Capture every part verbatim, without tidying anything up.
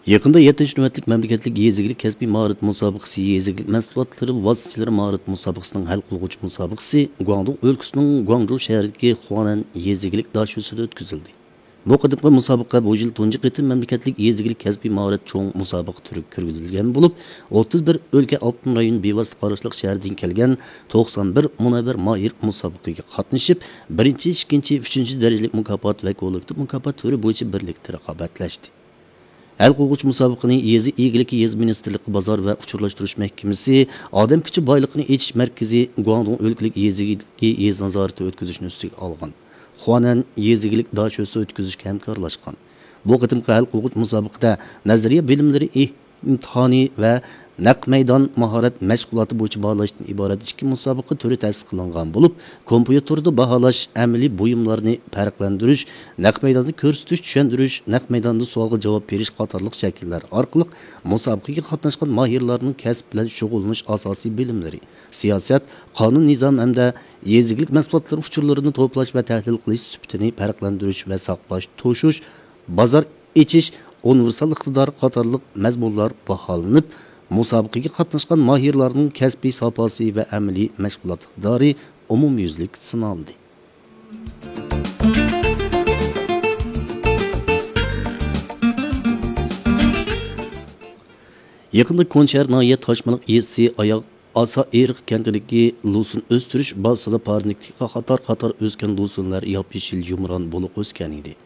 يېقىندا يەتتىنچى نۆۋەتلىك مەملىكەتلىك يېزا ئىگىلىك كەسپىي ماھارەت مۇسابىقىسى، يېزا ئىگىلىك مەھسۇلاتلىرى ۋاسىتىچىلىرى ماھارەت مۇسابىقىسىنىڭ ھەل قىلغۇچ مۇسابىقىسى گۇاڭدۇڭ ئۆلكىسىنىڭ گۇاڭجۇ شەھىرىدىكى خۇانەن يېزا ئىگىلىك داشۆسىدە ئۆتكۈزۈلدى. بۇ قېتىمقى مۇسابىقە بۇ يىل تۇنجى قېتىم مەملىكەتلىك يېزا ئىگىلىك كەسپىي ماھارەت چوڭ مۇسابىقە تۈرىگە كىرگۈزۈلگەن بولۇپ، ئوتتۇز بىر ئۆلكە ئاپتونوم رايون بىۋاسىتە قاراشلىق شەھەردىن كەلگەن توقسان بىر مۇنەۋۋەر ماھىر مۇسابىقىگە قاتنىشىپ، بىرىنچى، ئىككىنچى، ئۈچىنچى دەرىجىلىك مۇكاپات ۋە كوللېكتىپ مۇكاپات تۈرى بويىچە بىرلىكتە رىقابەتلەشتى. ھەل قىلغۇچ مۇسابىقىنى يېزا ئىگىلىكى، يېزا مىنىستىرلىقى، بازار ۋە ئۇچۇرلاشتۇرۇش مەھكىمىسى، ئادەم كۈچى بايلىقىنى ئېچىش مەركىزى، گۇاڭدۇڭ ئۆلكىلىك يېزا ئىگىلىكى يېزا نازارىتى ئۆتكۈزۈشنى ئۈستىگە ئالغان. خۇانەن يېزا ئىگىلىك داشۆسى ئۆتكۈزۈشكە ھەمكارلاشقان. بۇ قېتىمقى ھەل قىلغۇچ مۇسابىقىدە نەزەرىيە بىلىملىرى ئىمتىھانى ۋە نەق مەيدان ماھارەت مەشغۇلاتى بويىچە باھالاشتىن ئىبارەت ئىككى مۇسابىقە تۈرى تەسىس قىلىنغان بولۇپ، كومپيۇتېردا باھالاش، ئەمەلىي بۇيۇملارنى پەرقلەندۈرۈش، نەق مەيداندا كۆرسىتىش، چۈشەندۈرۈش، نەق مەيداندا سوئالغا جاۋاب بېرىش قاتارلىق شەكىللەر ئارقىلىق مۇسابىقىگە قاتناشقان ماھىرلارنىڭ كەسىپ بىلەن شۇغۇللىنىش ئاساسىي بىلىملىرى، سىياسەت، قانۇن نىزام ھەمدە يېزا ئىگىلىك مەھسۇلاتلىرى ئۇچۇرلىرىنى توپلاش ۋە تەھلىل قىلىش سۈپىتىنى پەرقلەندۈرۈش ۋە ساقلاش، توشۇش، بازار ئېچىش، ئۇنىۋېرسال ئىقتىدار قاتارلىق مەزمۇنلار باھالىنىپ، مۇسابىقىگە قاتناشقان ماھىرلارنىڭ كەسپىي ساپاسى ۋە ئەمەلىي مەشغۇلات ئىقتىدارى ئومۇميۈزلۈك سىنالدى. يېقىندا كونشەھەر ناھىيە تاشمىلىق يېزىسى ئاياغ ئاسا ئېرىق كەنتىدىكى لوسۇن ئۆستۈرۈش بازىسىدا پارنىكتىكى قاتار قاتار ئۆسكەن لوسۇنلار ياپيېشىل يۇمران بولۇق ئۆسكەن ئىدى.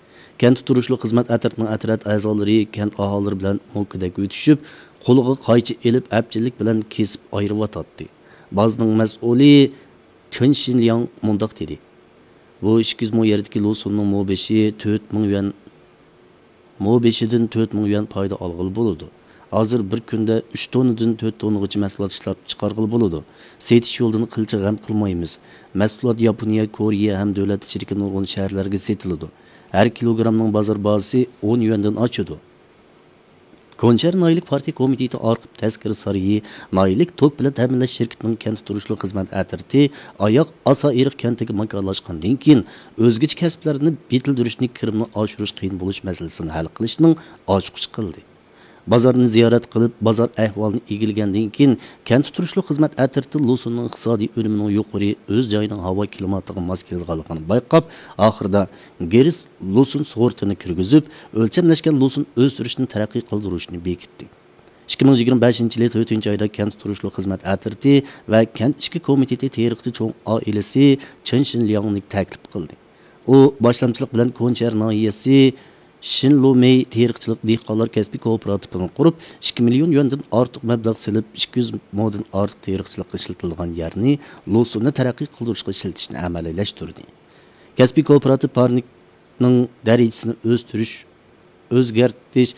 كەنتتە تۇرۇشلۇق خىزمەت ئەترىتىنىڭ ئەترەت ئەزالىرى كەنت ئاھالىلىرى بىلەن موكىدەك ئۆتۈشۈپ، قولىغا قايچا ئېلىپ، ئەپچىللىك بىلەن كېسىپ ئايرىۋاتاتتى. بازىنىڭ مەسئۇلى چېن شىنلياڭ مۇنداق دېدى: بۇ ئىككى يۈز مو يەردىكى لوسۇننىڭ مو بېشى تۆت مىڭ يۈەن، مو بېشىدىن تۆت مىڭ يۈەن پايدا ئالغىلى بولىدۇ. ھازىر بىر كۈندە ئۈچ توننىدىن تۆت توننىغىچە مەھسۇلات ئىشلەپ چىقارغىلى بولىدۇ. سېتىش يولىدىن قىلچە غەم قىلمايمىز. مەھسۇلات ياپونىيە، كورېيە ھەم دۆلەت ئىچىدىكى نۇرغۇن شەھەرلەرگە سېتىلىدۇ. ھەر كىلوگرامنىڭ بازار باھاسى ئون يۈەندىن ئاشىدۇ. كونشەھەر ناھىيەلىك پارتىيە كومىتېتى ئارخىپ تەسكىرى سارىيى ناھىيەلىك توك بىلەن تەمىنلەش شىركىتىنىڭ كەنتتە تۇرۇشلۇق خىزمەت ئەترىتى ئاياغ ئاسا ئېرىق كەنتىگە ماكانلاشقاندىن كېيىن، ئۆزگىچە كەسىپلەرنى يېتىلدۈرۈشنى، كىرىمنى ئاشۇرۇش قىيىن بولۇش مەسىلىسىنى ھەل قىلىشنىڭ ئاچقۇچى قىلدى. بازارنى زىيارەت قىلىپ، بازار ئەھۋالىنى ئىگىلىگەندىن كېيىن، كەنتتە تۇرۇشلۇق خىزمەت ئەترىتى لوسۇننىڭ ئىقتىسادىي ئۈنۈمىنىڭ يۇقىرى، ئۆز جايىنىڭ ھاۋا كىلىماتىغا ماس كېلىدىغانلىقىنى بايقاپ، ئاخىرىدا گېرس لوسۇن سورتىنى كىرگۈزۈپ، ئۆلچەملەشكەن لوسۇن ئۆستۈرۈشنى تەرەققىي قىلدۇرۇشنى بېكىتتى. ئىككى مىڭ يىگىرمە بەشىنچى يىلى تۆتىنچى ئايدا كەنتتە تۇرۇشلۇق خىزمەت ئەترىتى ۋە كەنت ئىچكى كومىتېتى تېرىقچى چوڭ ئائىلىسى چېن شىنلياڭنى تەكلىپ قىلدى. ئۇ باشلامچىلىق بىلەن كونشەھەر ناھىيەسى شىنلۇمېي تېرىقچىلىق دېھقانلار كەسپىي كوپىراتىپىنى قۇرۇپ، ئىككى مىليون يۈەندىن ئارتۇق مەبلەغ سېلىپ، ئىككى يۈز مودىن ئارتۇق تېرىقچىلىققا ئىشلىتىلىدىغان يەرنى لوسۇننى تەرەققىي قىلدۇرۇشقا ئىشلىتىشنى ئەمەلىيلەشتۈردى. كەسپىي كوپىراتىپ پارنىكنىڭ دەرىجىسىنى ئۆستۈرۈش، ئۆزگەرتىش،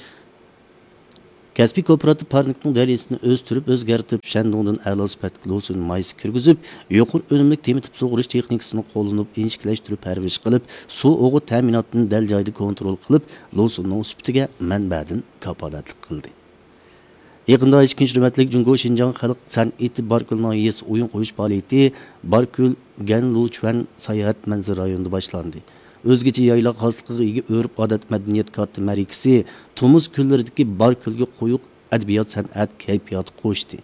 كەسپىي كوپىراتىپ پارنىكنىڭ دەرىجىسىنى ئۆستۈرۈپ، ئۆزگەرتىپ، شەندۇڭدىن ئەلا سۈپەتلىك لوسۇن مايسا كىرگۈزۈپ، يۇقىرى ئۈنۈملۈك تېمىتىپ سۇغىرىش تېخنىكىسىنى قوللىنىپ، ئىنچىكىلەشتۈرۈپ پەرۋىش قىلىپ، سۇ ئوغۇت تەمىناتىنى دەل جايىدا كونترول قىلىپ، لوسۇننىڭ سۈپىتىگە مەنبەدىن كاپالەتلىك قىلدى. يېقىندا ئىككىنچى نۆۋەتلىك جۇڭگو شىنجاڭ خەلق سەنئىتى باركۆل ناھىيەسى ئويۇن قويۇش پائالىيىتى باركۆل گەنلۇچۈەن ساياھەت مەنزىرە رايونىدا باشلاندى. ئۆزگىچە يايلاق خاسلىقىغا ئىگە ئۆرپ-ئادەت مەدەنىيەت كاتتا مەرىكىسى تومۇز كۈنلىرىدىكى باركۆلگە قويۇق ئەدەبىيات-سەنئەت كەيپىياتى قوشتى.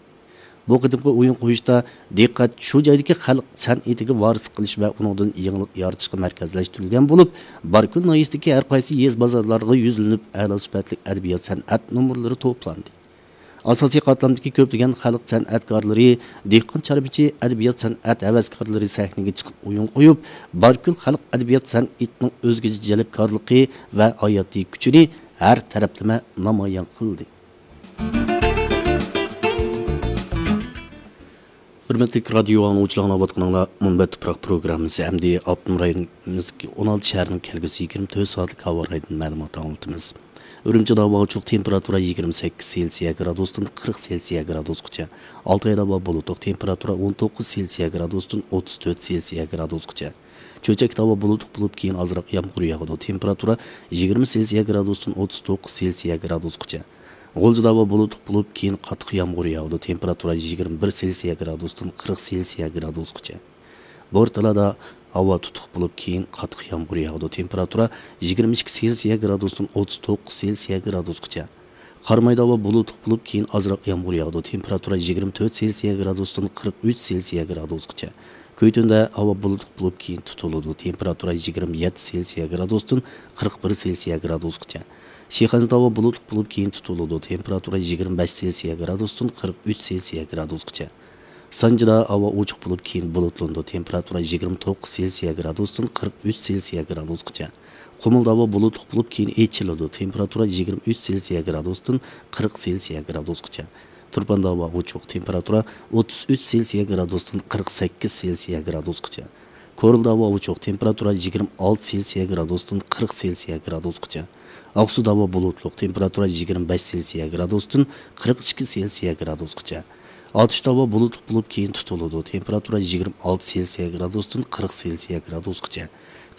بۇ قېتىمقى ئويۇن قويۇشتا دىققەت شۇ جايدىكى خەلق سەنئىتىگە ۋارىسلىق قىلىش ۋە ئۇنىڭدىن يېڭىلىق يارىتىشقا مەركەزلەشتۈرۈلگەن بولۇپ، باركۆل ناھىيەسىدىكى ھەر قايسى يېزا بازارلارغا يۈزلىنىپ، ئەلا سۈپەتلىك ئەدەبىيات-سەنئەت نومۇرلىرى توپلاندى. ئاساسىي قاتلامدىكى كۆپلىگەن خەلق سەنئەتكارلىرى، دېھقان-چارۋىچى، ئەدەبىيات-سەنئەت ھەۋەسكارلىرى سەھنىگە چىقىپ ئويۇن قويۇپ، باركۆل خەلق ئەدەبىيات-سەنئىتىنىڭ ئۆزگىچە جەلپكارلىقى ۋە ھاياتىي كۈچىنى ھەر تەرەپلىمە نامايان قىلدى. ھۆرمەتلىك رادىيو ئاڭلىغۇچىلار، ئاڭلاۋاتقىنىڭلار مۇنبەت تۇپراق پروگراممىسى. ئەمدى ئاپتونوم رايونىمىزدىكى ئون ئالتە شەھەرنىڭ كەلگۈسى يىگىرمە تۆت سائەتلىك ھاۋا رايىدىن مەلۇمات ئاڭلىتىمىز. ئۈرۈمچىدە ھاۋا ئوچۇق، تېمپېراتۇرا يىگىرمە سەككىز سېلسىيە گرادۇستىن قىرىق سېلسىيە گرادۇسقىچە. ئالتايدا ھاۋا بۇلۇتلۇق، تېمپېراتۇرا ئون توققۇز سېلسىيە گرادۇستىن ئوتتۇز تۆت سېلسىيە گرادۇسقىچە. چۆچەكتە ھاۋا بۇلۇتلۇق بولۇپ، كېيىن ئازراق يامغۇر ياغىدۇ. تېمپېراتۇرا يىگىرمە سېلسىيە گرادۇستىن ئوتتۇز توققۇز سېلسىيە گرادۇسقىچە. غۇلجىدا ھاۋا بۇلۇتلۇق بولۇپ، كېيىن قاتتىق يامغۇر ياغىدۇ. تېمپېراتۇرا يىگىرمە بىر سېلسىيە گرادۇستىن قىرىق سېلسىيە گرادۇسقىچە. بورتالادا ھاۋا تۇتۇق بولۇپ، كېيىن قاتتىق يامغۇر ياغىدۇ. تېمپېراتۇرا يىگىرمە ئىككى سېلسىيە گرادۇستىن ئوتتۇز توققۇز سېلسىيە گرادۇسقىچە. قارامايدا ھاۋا بۇلۇتلۇق بولۇپ، كېيىن ئازراق يامغۇر ياغىدۇ. تېمپېراتۇرا يىگىرمە تۆت سېلسىيە گرادۇستىن قىرىق ئۈچ سېلسىيە گرادۇسقىچە. كۆيتۈندە ھاۋا بۇلۇتلۇق بولۇپ، كېيىن تۇتۇلىدۇ. تېمپېراتۇرا يىگىرمە يەتتە سېلسىيە گرادۇستىن قىرىق بىر سېلسىيە گرادۇسقىچە. شىخەنزىدە ھاۋا بۇلۇتلۇق بولۇپ، كېيىن تۇتۇلىدۇ. تېمپېراتۇرا يىگىرمە بەش سېلسىيە گرادۇستىن قىرىق ئۈچ سېلسىيە گرادۇسقىچە. سانجىدا ھاۋا ئوچۇق بولۇپ، كېيىن بۇلۇتلىنىدۇ. تېمپېراتۇرا يىگىرمە توققۇز سېلسىيە گرادۇستىن قىرىق ئۈچ سېلسىيە گرادۇسقىچە. قۇمۇلدا ھاۋا بۇلۇتلۇق بولۇپ، كېيىن ئېچىلىدۇ. تېمپېراتۇرا يىگىرمە ئۈچ سېلسىيە گرادۇستىن قىرىق سېلسىيە گرادۇسقىچە. تۇرپاندا ھاۋا ئوچۇق، تېمپېراتۇرا ئوتتۇز ئۈچ سېلسىيە گرادۇستىن قىرىق سەككىز سېلسىيە گرادۇسقىچە. كورلىدا ھاۋا ئوچۇق، تېمپېراتۇرا يىگىرمە ئالتە سېلسىيە گرادۇستىن قىرىق سېلسىيە گرادۇسقىچە. ئاقسۇدا ھاۋا بۇلۇتلۇق، تېمپېراتۇرا يىگىرمە بەش سېلسىيە گرادۇستىن قىرىق ئىككى سېلسىيە گرادۇسقىچە. ئاتۇشتا ھاۋا بۇلۇتلۇق بولۇپ، كېيىن تۇتۇلىدۇ. تېمپېراتۇرا يىگىرمە ئالتە سېلسىيە گرادۇستىن قىرىق سېلسىيە گرادۇسقىچە.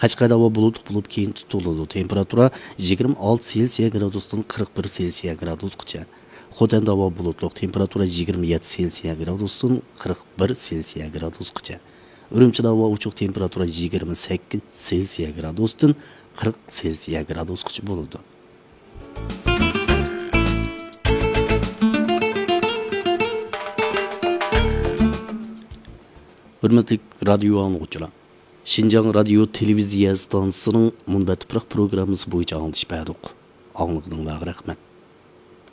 قەشقەردە ھاۋا بۇلۇتلۇق بولۇپ، كېيىن تۇتۇلىدۇ. تېمپېراتۇرا يىگىرمە ئالتە سېلسىيە گرادۇستىن قىرىق بىر سېلسىيە گرادۇسقىچە. خوتەندە ھاۋا بۇلۇتلۇق، تېمپېراتۇرا يىگىرمە يەتتە سېلسىيە گرادۇستىن قىرىق بىر سېلسىيە گرادۇسقىچە. ئۈرۈمچىدە ھاۋا ئوچۇق، تېمپېراتۇرا يىگىرمە سەككىز سېلسىيە گرادۇستىن قىرىق سېلسىيە گرادۇسقىچە بولىدۇ. ھۆرمەتلىك رادىيو ئاڭلىغۇچىلار، شىنجاڭ رادىيو تېلېۋىزىيە ئىستانسىسىنىڭ مۇنبەت تۇپراق پروگراممىسى بويىچە ئاڭلىتىش بەردۇق. ئاڭلىغىنىڭلارغا رەھمەت.